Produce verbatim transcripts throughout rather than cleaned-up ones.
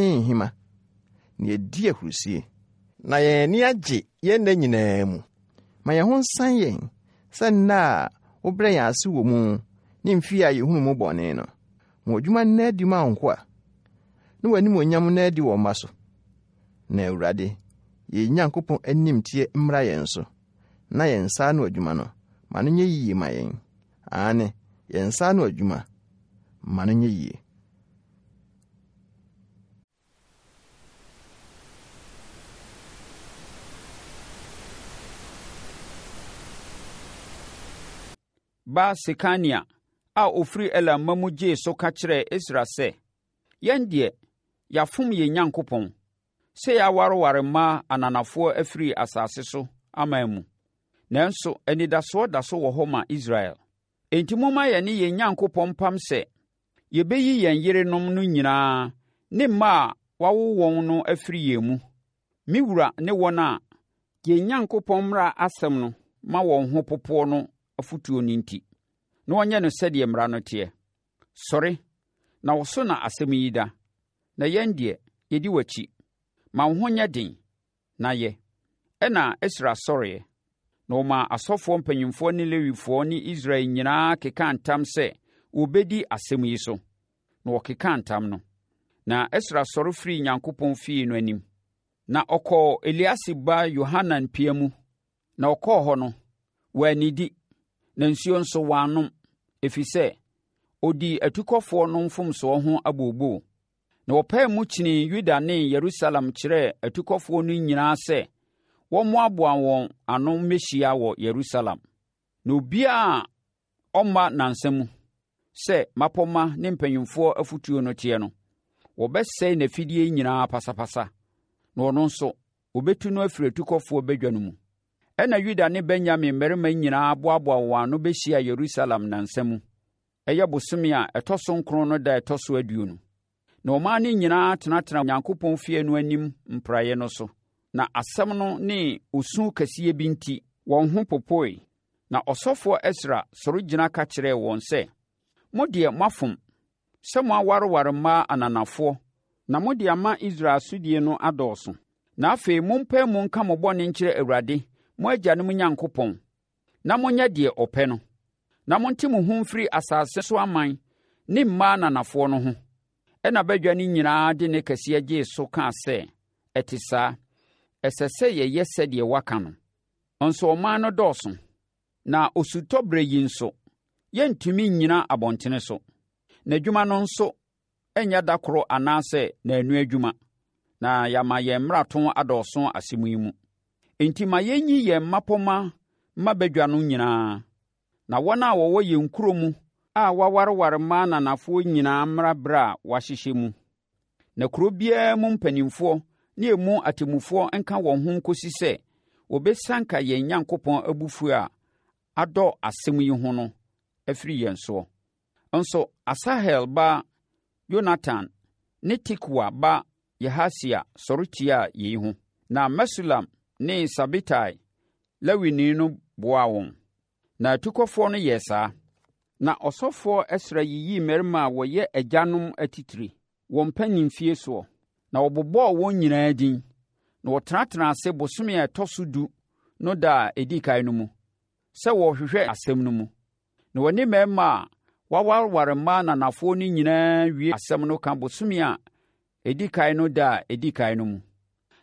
Nhima, na yɛadi ahurusi, na yɛn ani agye yɛn nna nyinaa mu. Ma yɛn ho nsan yɛn sɛ nna a wobrɛ yɛn ase wɔ mu ne mfe a yɛhunu mu bɔne no. Ma w'adwuma nna adi ma wo nkoa, ne w'animuonyam nna adi wɔ mma so. Na Awurade, yɛn Nyankopɔn animteɛ mmra yɛn so, na yɛn nsa ano adwuma no, ma no nyɛ yiye ma yɛn. Aane, yɛn nsa ano adwuma, ma no nyɛ yie. Ba Sekania a ɔfiri Elam mma mu gyee so ka kyerɛɛ Ɛsra sɛ, “Yɛn deɛ, yɛafom yɛn Onyankopɔn, sɛ yɛawareware mmaa ananafoɔ afiri asase so aman mu. Nanso, anidasoɔ da so wɔ hɔ ma Israel. Enti, momma yɛne yɛn Onyankopɔn mpam sɛ, yɛbɛyi yɛn yerenom no nyinaa ne mma a wɔawo wɔn no afiri yɛn mu. Me wura ne wɔn a yɛn Onyankopɔn mmara asɛm no ma wɔn ho popoɔ no afotuo no enti, na wɔnyɛ no sɛdeɛ mmara no teɛ. Sɔre, na wo so na asɛm yi da, na yɛn deɛ, yɛdi w'akyi. Ma wo ho nyɛ den, na yɛ. Ɛnna Esra sɔreeɛ, na ɔmaa asɔfoɔ mpanimfoɔ ne Lewifoɔ ne Israel nyinaa kekaa ntam sɛ wɔbɛdi asɛm yi so. Na wɔkekaa ntam no. Na Esra sɔre firii Onyankopɔn fie no anim, na ɔkɔɔ Eliasib ba Yohanan pia mu. Na ɔkɔɔ hɔ no, wannidi, na nsuo nso wannom, ɛfiri sɛ, ɔdii atukɔfoɔ no mfomsoɔ ho abooboo. Na wɔpaee mu kyinii Yuda ne Yerusalem kyerɛɛ atukɔfoɔ no nyinaa sɛ wɔmmoaboa wɔn ano mmɛhyia wɔ Yerusalem. Na obiara a ɔmma nnansa mu, sɛ mmapɔmma ne mpanimfoɔ afotuo no teɛ no, wɔbɛsɛe n'afideɛ nyinaa pasapasa, na ɔno nso, wɔbɛtu no afiri atukɔfoɔ badwa no mu. Ɛnna Yuda ne Benyamin mmarima nyinaa boaboaa wɔn ano bɛhyiaa Yerusalem nnansa mu, ɛyɛ bosome a ɛtɔ so nkron no da a ɛtɔ so aduonu. Na ɔman no nyinaa tenatenaa Onyankopɔn fie no anim mpraeɛ no so. Na asɛm no ne osu kɛseɛ bi nti, wɔn ho popoe. Na ɔsɔfoɔ Esra sɔre gyina ka kyerɛɛ wɔn sɛ, Mo deɛ, moafom sɛ moawareware mmaa ananafoɔ na mode ama Israel asodie no adɔɔso. Na afei mompae mu nka mo bɔne nkyerɛ Awurade, mo agyanom Nyankopɔn, na monyɛ deɛ ɔpɛ no, na monte mo ho mfiri asase so aman ne mmaa ananafoɔ no ho. Ɛnna badwa no nyinaa de nne kɛseɛ gyee so kaa sɛ, Ɛte saa! Ɛsɛ sɛ yɛyɛ sɛdeɛ woaka no. Nso ɔman no dɔɔso, na osutɔberɛ yi nso, yɛrentumi nnyina abɔntene so. Na adwuma no nso nyɛ da koro anaasɛ nnanu adwuma, na yɛama yɛn mmarato adɔɔso asɛm yi mu. Enti ma yɛnyi yɛn mmapɔmma mma badwa no nyinaa, na wɔn a wɔwɔ yɛn nkuro mu a wɔawareware mmaa ananafoɔ nyinaa mmra berɛ a wɔahyehyɛ mu. Na kuro biara mu mpanimfoɔ ne emu atemmufoɔ nka wɔn ho nkɔsi sɛ wɔbɛsianka yɛn Onyankopɔn abufuo a adɔ asɛm yi ho no afiri yɛn soɔ. Nso Asahel ba Yonatan ne Tikwa ba Yahasia sɔre tiaa yei ho, na Mesulam ne Sabetai Lewini no boaa wɔn. Na atukɔfoɔ no yɛɛ saa. Na ɔsɔfoɔ Esra yiyii mmarima a wɔyɛ agyanom atitire, wɔn mpanimfie soɔ, na wɔbobɔɔ wɔn nyinaa din, na wɔtenatenaa ase bosome a ɛtɔ so du no da a ɛdi kan no mu, sɛ wɔrehwehwɛ asɛm no mu. Na wɔne mmarima a wɔawareware mmaa ananafoɔ no nyinaa wiee asɛm no ka bosome a ɛdi kan no da a ɛdi kan no mu.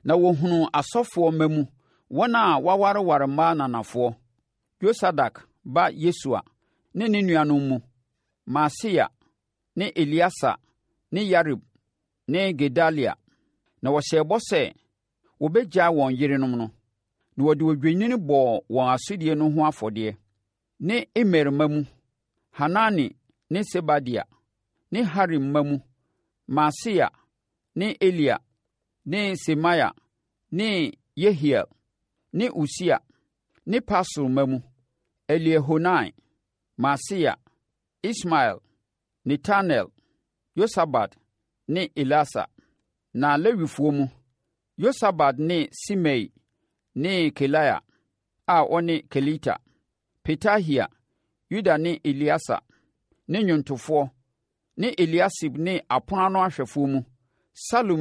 Na wɔhunuu asɔfoɔ mma mu wɔn a wɔawareware mmaa ananafoɔ, Yosadak ba Yesua ne ne nuanom mu, Maaseia ne Elieser ne Yarib ne Gedalia. Na wɔhyɛɛ bɔ sɛ wɔbɛgyaa wɔn yerenom no, na wɔde odwennini bɔɔ wɔn asodie no ho afɔdeɛ. Ne Imer mma mu, Hanani ne Sebadia; ne Harim mma mu, Maaseia ne Elia ne Semaia ne Yehiel ne Usia; ne Pasur mma mu, Eliehoenai, Maaseia, Ismael, Netanel, Yosabad ne Elasa. Na Lewifoɔ mu, Yosabad ne Simei ne Kelaia a ɔne Kelita, Petahia, Yuda ne Elieser ne nnwontofoɔ ne Eliasib ne apono ano ahwɛfoɔ mu, Salum